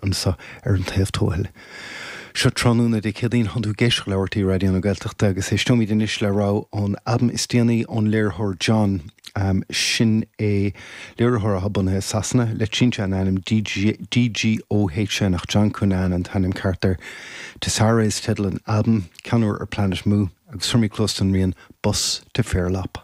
Anseo ar an taobh tuathail. Seo tráthnóna Dé Céadaoin, tánn tú ag éisteacht le RTÉ Raidió na Gaeltachta agus éisteoimid anois le rogha ón albam is déanaí ón léiritheoir John. Sin é léiritheoir atá bunaithe i Sasana, le sínte an ainm DGOHN ach John Cunnane an t-ainm ceart air. Tessera is teideal an albaim, ceann úr ar Planet Mu, agus tabharfaimid cluas don rian Bus to Fairlop.